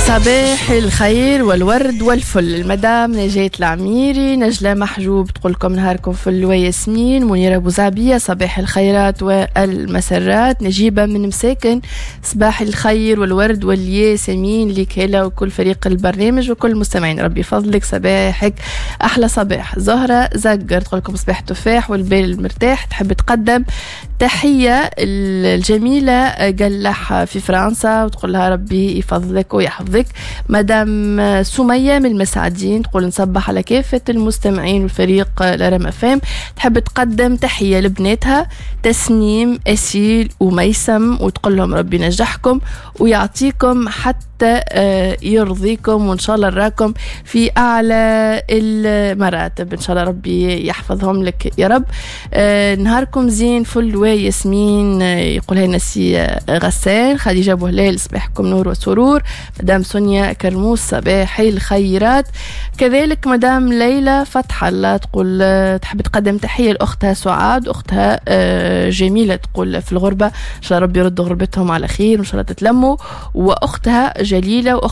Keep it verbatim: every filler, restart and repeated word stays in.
صباح الخير والورد والفل. المدام نجاة العميري، نجلة محجوب تقول لكم نهاركم فل وياسمين. منيرة بوزعبية، صباح الخيرات والمسرات. نجيبة من مساكن، صباح الخير والورد والياسمين لك هلا وكل فريق البرنامج وكل المستمعين، ربي يفضلك، صباحك أحلى صباح. زهرة زقر تقول لكم صباح التفاح والبال المرتاح، تحب تقدم تحية الجميلة قلح في فرنسا وتقول لها ربي يفضلك ويحفظك. مدام سمية من المسعدين تقول نصبح على كافة المستمعين والفريق الأرم أفام، تحب تقدم تحية لبناتها تسنيم، أسيل وميسم، وتقول لهم ربي ينجحكم ويعطيكم حتى آه، يرضيكم، وإن شاء الله نراكم في أعلى المراتب، إن شاء الله ربي يحفظهم لك يا رب. آه، نهاركم زين فل وياسمين، آه، يقولها لنا سي غسان. خديجة بوهلال، صباحكم نور وسرور. مدام سونيا كرموس، صباح الخيرات. كذلك مدام ليلى فتح الله تقول تحب تقدم تحية لأختها سعاد، أختها جميلة تقول في الغربة، إن شاء الله ربي يرد غربتهم على خير وإن شاء الله تتلموا، وأختها جليلة وأختها